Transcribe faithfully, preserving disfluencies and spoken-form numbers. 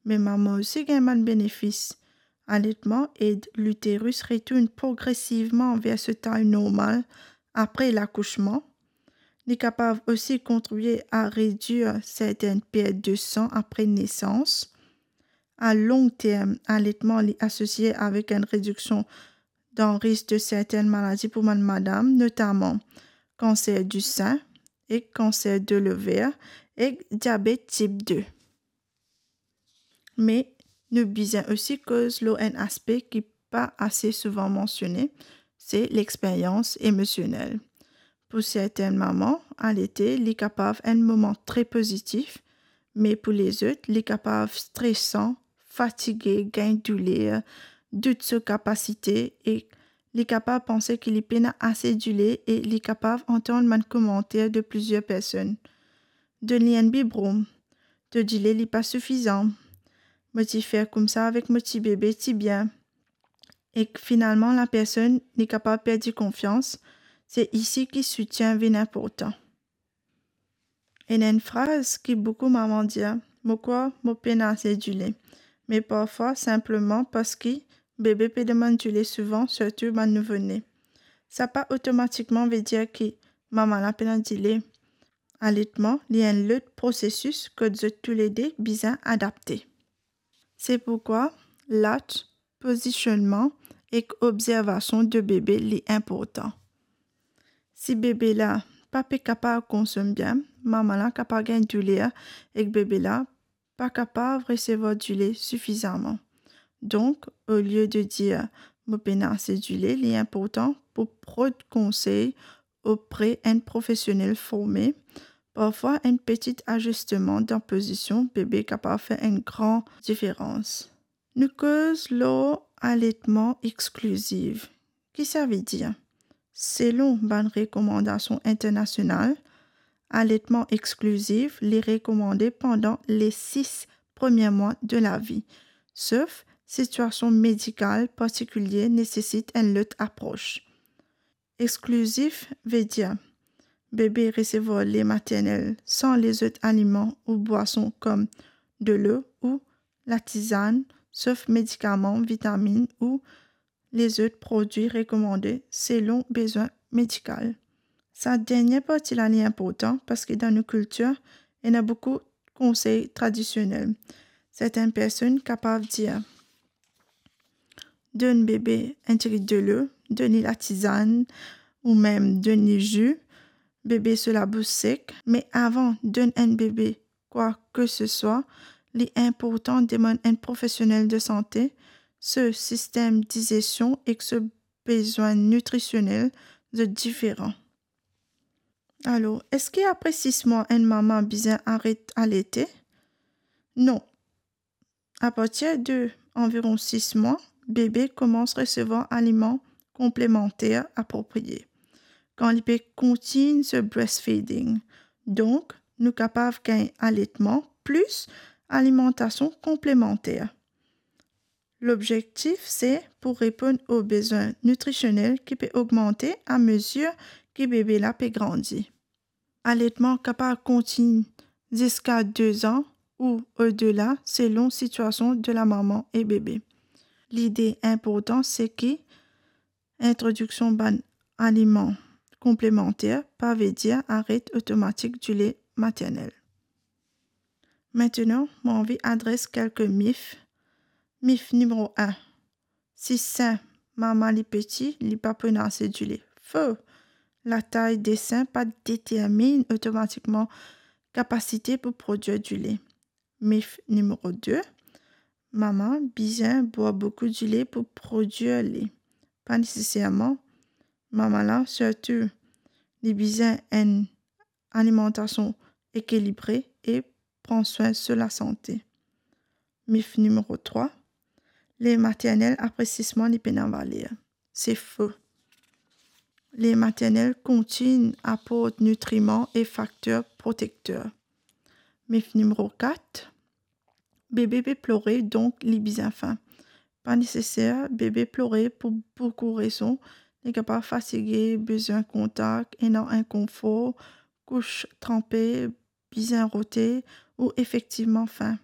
Me mama osi gagn bann benefis. Aletman ed literis retourn progresivman ver so tay normal apre lakousman. Li kapav osi kontribie a redwir sertenn pert de san apre nesans. A long term, aletman li asosie avek enn rediksion dan risk de sertenn maladi pou bann madam, notaman kanser di sin ek kanser de lover ek diabet tip de. Me nou bizin osi koz lor enn aspe ki pa ase souvan mansione, se lexperyans emosionel. Pou sertenn mama, alete li kapav enn moman tre pozitif, me pou lezot, li kapav stresan, fatige, gagn douler, dout so kapasite e li kapav panse ki li pena ase dile e li kapav antann bann komanter de plizier personn. Donn li enn bibron. To dile li pa soufizan. Mo ti fer koumsa avek mo ti bebe ti bien. Ek finalman, lapersonn li kapav perdi konfians. Se isi ki soutien vinn inportan. Ena enn fraz ki boukou mama dir, mo krwar mo pena ase dile. Me parfwa, sinpleman parski bebe pe demann dile souvan, sirtou bann nouvo-ne. Sa pa otomatikman ve dir ki mama la pena dile. Aletman, li enn lot prosesis kot zot toulede bizin adapte. Se pourkwa latch, pozisionnman ek obzervasion de bebe li inportan. Si bebe la pa pe kapav konsom bien, mama la kapav gagn douler ek bebe la pa kapav resevwar dile sifizaman. Donk, olie de dir mo pena ase dile, li inportan pou prod konsey opre enn profesionel forme. Parfwa, enn peti azisteman dan pozision bebe kapav fer enn gran diferans. Nou koz lor aletman exkliziv. Ki sa ve dir? Selon bann rekomandasion internasional, aletman exkliziv li rekomande pandan le sis premie mwa de lavi, sof sitiasion medikal partikilie nesesit enn lot apros. Exkliziv ve dir bebe resevwar le maternel san lezot aliman ou bwason kom delo ou latizann, sof medikaman, vitaminn ou lezot prodwi rekomande selon bezwin medikal. Sa dernie parti la li inportan parski dan nou kiltir, ena boukou konsey tradisionel. Sertenn personn kapav dir, donn bebe enn tigit delo, donn li latizann, ou mem donn li zi, bebe so labous sek. Me avan donn enn bebe kwa ke se swa, li inportan demann enn profesionel de sante. So sistem dizesion ek so bezwin nitrisionel zot diferan. Alor, eski apre sis mwa enn mama bizin aret alete? Non. Apartir de anviron sis mwa, bebe koumans resevwar aliman konplemanter apropriye kan li pe kontign so breastfeeding. Donk, nou kapav gagn aletman plis alimantasion konplemanter. Lobzektif se pou reponn o bezwin nitrisionel ki pe ogmante amezir ki bebe la pe grandi. Aletman kapav kontign ziska de zan ou odela selon sitiasion de lamama e bebe. Lide inportan se ki introdiksion bann aliman konplemanter pa ve dir aret otomatik dile maternel. Aster, mo anvi adres kelke mif. Mif nimero enn. Si sin mama li peti, li pa pou ena ase dile. Fo. Latay de sin pa determinn otomatikman kapasite pou prodwir dile. Mif nimero de. Mama bizin bwar boukou dile pou prodwir li. Pa neseserman. Mama la, sirtou, li bizin enn alimantasion ekilibre e pran swin so lasante. Mif nimero trwa. Le maternel apre sis mwa, li pena valer. Se fo. Le maternel kontign aport nitriman e fakter protekter. Mif nimero kat. Bebe pe plore, donk li bizin fin. Pa neseser, bebe plore pou boukou rezon. Li kapav fatige, bezwin kontak, ena inkonfor, kous tranpe, bizin rote ou efektivman fin.